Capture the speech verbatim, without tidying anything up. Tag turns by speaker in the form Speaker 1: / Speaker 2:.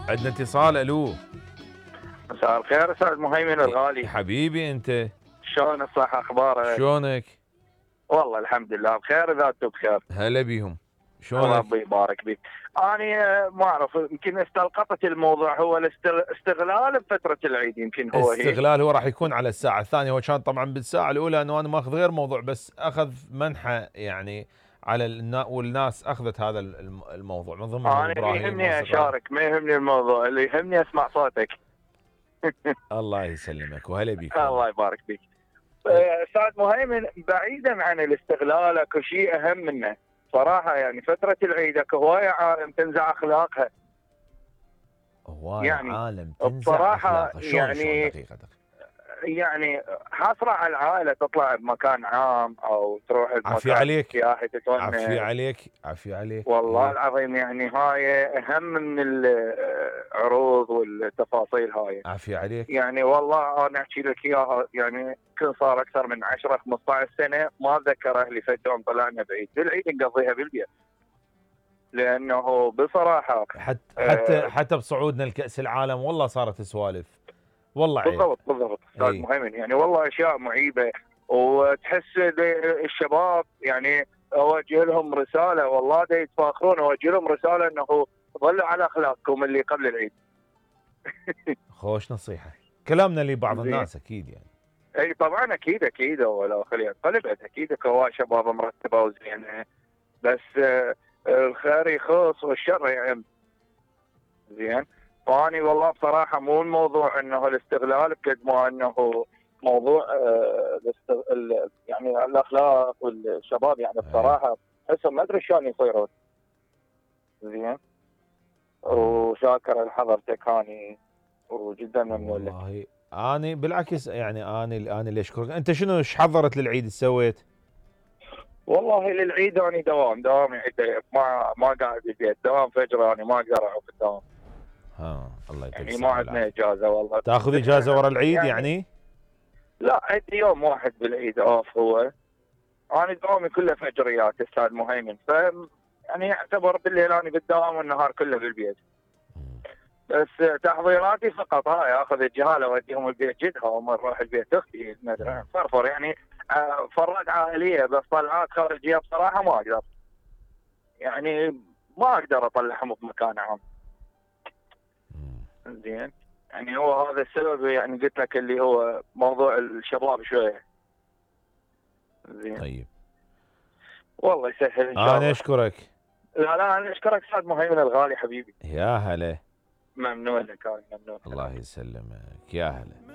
Speaker 1: عندنا اتصال. الو
Speaker 2: مساء الخير استاذ مهيمن الغالي.
Speaker 1: حبيبي انت
Speaker 2: شلون الصحة اخبارك؟
Speaker 1: شلونك؟
Speaker 2: والله الحمد لله بخير اذا انتم بخير.
Speaker 1: هلا بيهم. شلونك؟
Speaker 2: ربي يبارك بيك. انا ما اعرف يمكن استلقطت الموضوع هو الاستغلال بفترة العيد يمكن هو
Speaker 1: استغلال هو راح يكون على الساعة الثانية. هو كان طبعا بالساعة الأولى انه انا ماخذ غير موضوع بس اخذ منحة يعني على النا... والناس اخذت هذا الموضوع من ضمن
Speaker 2: انا ما يهمني اشارك، ما يهمني الموضوع، اللي يهمني اسمع صوتك.
Speaker 1: الله يسلمك وهلا بيك.
Speaker 2: الله يبارك بيك. استاذ مهيمن بعيدا عن الاستغلال اكو شيء اهم منه صراحه، يعني فتره العيد اكو هوايه عالم تنزع اخلاقها.
Speaker 1: هوايه يعني عالم تنزع اخلاقها. شلون يعني شلون دقيقه دقيقه
Speaker 2: يعني حاصره على العائله تطلع بمكان عام او تروح
Speaker 1: عافية عليك
Speaker 2: سياحي تتونس.
Speaker 1: عافية عليك عافية عليك
Speaker 2: والله إيه؟ العظيم يعني هاي اهم من العروض والتفاصيل هاي.
Speaker 1: عافية عليك.
Speaker 2: يعني والله انا احكي لك اياها، يعني كل صار اكثر من عشرة خمسة عشر سنه ما اتذكر اهلي فد يوم طلعنا بعيد، بالعيد نقضيها بالبيت. لانه بصراحه
Speaker 1: حتى حتى آه حتى بصعودنا لكاس العالم والله صارت سوالف والله عيب.
Speaker 2: بالضبط بالضبط استاذ مهيمن، يعني والله اشياء معيبه، وتحس الشباب يعني اوجه لهم رساله، والله دا يتفاخرون، اوجه لهم رساله انه ظلوا على اخلاقكم اللي قبل العيد.
Speaker 1: خوش نصيحه كلامنا لبعض الناس اكيد يعني.
Speaker 2: اي طبعا اكيد اكيد ولا خليها قلبت اكيد كوا شباب مرتبه وزينه، بس الخير يخص والشر يعم. زين، فاني والله بصراحه مو الموضوع انه الاستغلال بقد ما انه موضوع آه يعني الاخلاق والشباب، يعني بصراحه احسهم ما ادري شلون يصيرون. زين، وشاكر لحضرتك هاني وجدا ممنون لك.
Speaker 1: والله اني بالعكس يعني اني انا اللي اشكرك. انت شنو ايش حضرت للعيد سويت؟
Speaker 2: والله للعيد اني دوام دوام يعني ما ما قاعد بالبيت، دوام فجر اني ما اقدر اقعد في الدوام.
Speaker 1: ها الله يتقبل.
Speaker 2: يعني ما عندنا اجازه والله.
Speaker 1: تاخذ اجازه ورا العيد يعني, يعني؟
Speaker 2: لا عندي يوم واحد بالعيد اوف. هو انا دوامي كله فجريات استاذ مهيمن، ف يعني يعتبر بالليل اني بالدوام والنهار كله بالبيت. بس تحضيراتي فقط هاي، اخذ الجهاله اوديهم البيت جدها وما اروح البيت اختي ندري فرفر يعني فرات عائليه، بس طلعات خارجيه بصراحه ما اقدر، يعني ما اقدر اطلعهم بمكان عام. زين، يعني هو هذا السبب يعني قلت لك اللي هو موضوع الشباب شويه. زين
Speaker 1: طيب
Speaker 2: والله يسهل ان شاء الله.
Speaker 1: انا اشكرك.
Speaker 2: لا لا انا اشكرك استاذ مهيمن الغالي حبيبي.
Speaker 1: يا هلا.
Speaker 2: ممنون لك، ممنون.
Speaker 1: الله يسلمك يا هلا.